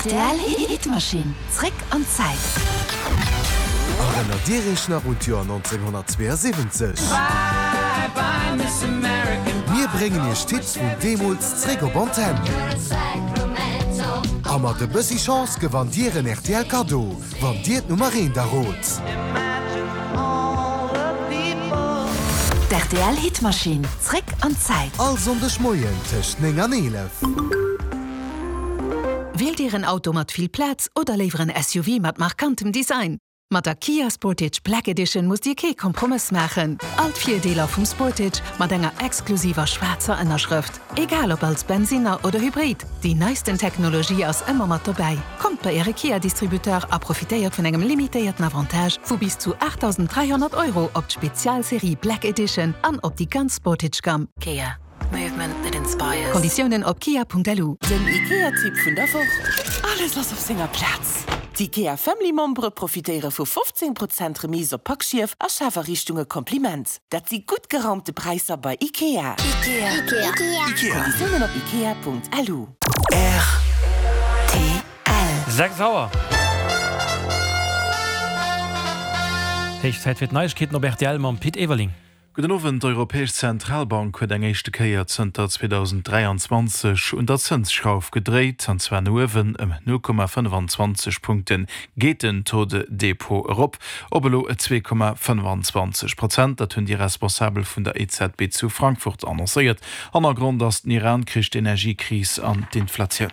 Rtl Hitmaschinn, zréck an d'Zäit. Erënnert Dir Iech nach un d'Joer 1972? Mir bréngen Iech d'Hits vun deemools zréck op Antenn. A mat e bëssi Chance gewannt Dir en rtl Kaddo, wann Dir d'Nummer eent errot. D'RTL Hitmaschinn, zréck an d'Zäit. All Sonndeg Moien tëscht 9 an 11. Wielt Dir en Auto mat vill Plaz oder léiwer en SUV mat markantem Design? Mat der Kia Sportage Black Edition musst Dir kee Kompromëss maachen. All d'Virdeeler vum Sportage mat enger exklusiver schwaarzer Ënnerschrëft. Egal ob als Bensinner oder Hybrid, déi neisten Technologie ass ëmmer mat dobäi. Kommt bei Äre Kia-Distributeur a profitéiert vun engem limitéierten Avantage vu bis zu 8.300 Euro op d'Spezialserie Black Edition an op déi ganz Sportage-Gamm. Kia. Movement that inspires. Konditiounen op kia.lu. Den IKEA-Tipp vun der Woch, Alles ass op senger Plaz! D'IKEA Family Membere profitéiere vu 15 Prozent Remise op Packschief a Schafariichtunge Kompliment. Dat si gutt geraumte Präisser bei IKEA. Konditiounen op ikea.lu. Rtl. 6 Auer. Héich Zäit fir d'Neiegkeeten op rtl mam Pit Everling. Gudden Owend. D'Europäesch Zentralbank huet eng éischte Kéier zënter 2023 un der Zënsschrauf gedréit, an zwar no uewen. Ëm 0,25 Punkte geet den Taux de dépôt erop op elo 2,25 Prozent. Dat hunn déi Responsabel vun der EZB zu Frankfurt annoncéiert. Hannergrond ass den Iran-Krich, d'Energiekris an d'Inflatioun.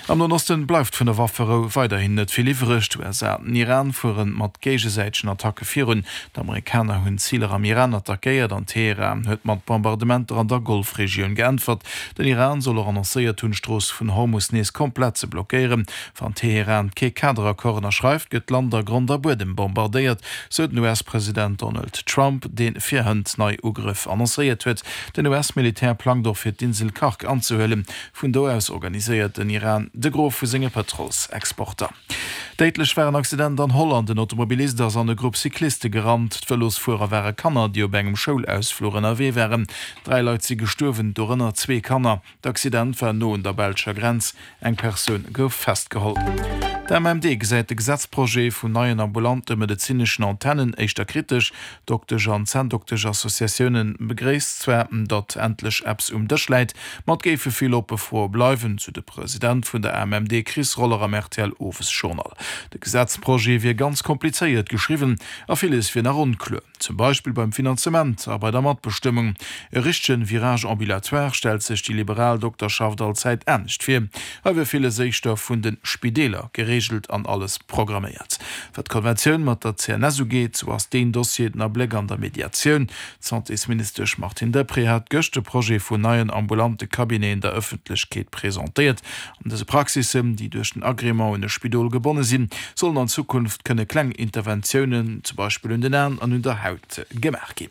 Am Noen Osten bleift vun der Wafferou weiderhin net vill iwwreg. D'USA an den Iran fuere mat géigesäitegen Attacke virun. D'Amerikaner hunn Ziler am Iran attackéiert an Teheran huet mat Bombardementer an der Golfregioun geäntwert. Den Iran soll och annoncéiert hunn, d'Strooss vun Hormus nees komplett ze blockéieren. Wann Teheran kee Kaderaccord ënnerschreift, gëtt d'Land a Grond a Buedem bombardéiert, sou den US-President Donald Trump, dee virhënt nei Ugrëff annoncéiert huet. Den US-Militär plangt och fir d'Insel Kharg anzehuelen. Vun do aus organiséiert den Iran de Gros vu senge Pëtrolsexporter. Déidlech war en Accident an Holland. En Automobilist ass an e Grupp Cycliste gerannt. D'Vëlosfuerer ware Kanner, déi op engem Schoulausfluch ënnerwee waren. 3 Leit si gestuerwen, dorënner zwee Kanner. D'Accident war no un der belscher Grenz. Eng Persoun gouf festgeholl. D'AMMD gesäit de Gesetzprojet vun neien ambulante medezineschen Antennen éischter kritesch. Doktesch an Zänndoktesch-Associatioune begréisst zwar, datt endlech eppes um Dësch läit, ma et géife vill oppe Froe bleiwen, sou de President vun der AMMD Chris Roller am RTL-Owesjournal. De Gesetzprojet wier ganz komplizéiert geschriwwen a villes wier nach onkluer, zum Beispill beim Finanzement a bei der Matbestëmmung. E richtege Virage ambulatoire stellt sech déi liberal Dokterschaft allzäit anescht vir. Hei wier villes éischter vun de Spideeler gereegelt an alles programméiert. Wat d'Konventioun mat der CNS ugeet, sou ass deen Dossier den Abléck an der Mediatioun. D'Santésministesch Martine Deprez hat gëscht de Projet vun neien ambulante Cabineten der Ëffentlechkeet presentéiert. An dëse Praxissen, déi duerch den Agrément un e Spidol gebonne sinn, sollen an Zukunft kënne kleng Interventiounen, zum Beispill un den Aen an un der Haut, gemaach ginn.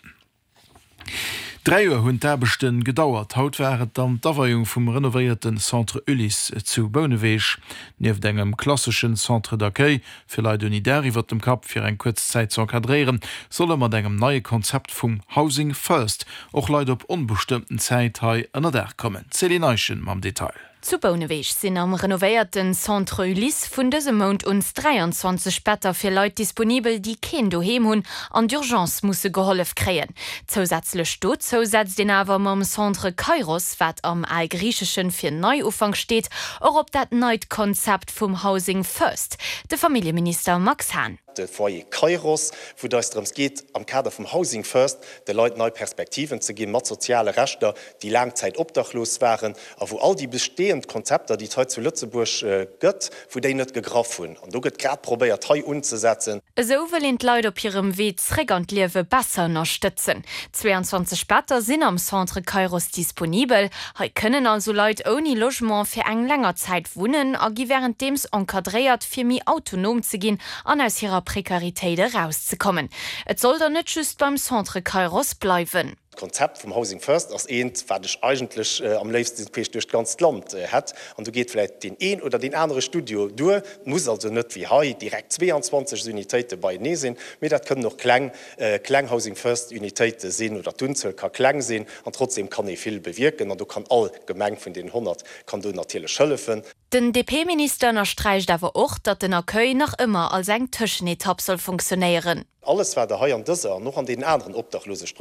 3 Joer hunn d'Aarbechte gedauert. Haut war et dann d'Aweiung vum renovéierte Centre Ulysse zu Bouneweg. Nieft engem klasseschen Centre d'accueil fir Leit ouni Daach iwwert dem Kapp fir eng kuerz Zäit ze encadréieren, solle mat engem neie Konzept vum Housing First och Leit op onbestëmmten Zäit hei ënner Daach kommen. D'Céline Eischen mam Detail. Zu Bouneweg sinn am renovéierten Centre Ulysse vun dësem Mount un 23 Better fir Leit disponibel, déi keen Doheem hunn an d'Urgence musse gehollef kréien. Zousätzlech dozou setzt een awer mam Centre Kairos, wat am Algriicheschen fir Neiufank steet, och op dat neit Konzept vum Housing First. De Familljeminister Max Hahn. De Foyer Kairos, wou et eis drëms geet, am Kader vum Housing First de Leit nei Perspektiven ze ginn, mat soziale Rechter, déi laang Zäit obdachlos waren a wou all déi bestehend Konzepter, déi et hei zu Lëtzebuerg gëtt, wou déi net gegraff hunn. An do gëtt grad probéiert, hei unzesetzen. Esou wëll een d'Leit op hirem Wee zréck an d'Liewe besser ënnerstëtzen. 22 Better sinn am Centre Kairos disponibel. Hei kënnen also Leit ouni Logement fir eng länger Zäit wunnen a gi wärenddeems encadréiert, fir méi autonom ze ginn an aus hirer Prekaritéit erauszekommen. Et soll dann net just beim Centre Kairos bleiwen. D'Konzept vum Housing First ass eent, wat ech eigentlech am léifsten queesch duerch d'ganzt Land hätt. An do geet vläicht deen een oder deen anere Studio duer. Et muss also net wéi hei direkt 22 Unitéite beienee sinn, mee dat kënnen och kleng, kleng Housing First Unitéite sinn oder d'Unzuel ka kleng sinn an trotzdem kann ee vill bewierken. An do kann all Gemeng vun deenen 100 kann do natierlech hëllefen. Den DP-Minister ënnersträicht awer och, datt den Accueil nach ëmmer als eng Tëschenetapp soll funktionéieren. Alles, wat Der hei an dëser an och an deenen aneren Obdachlosestroossen.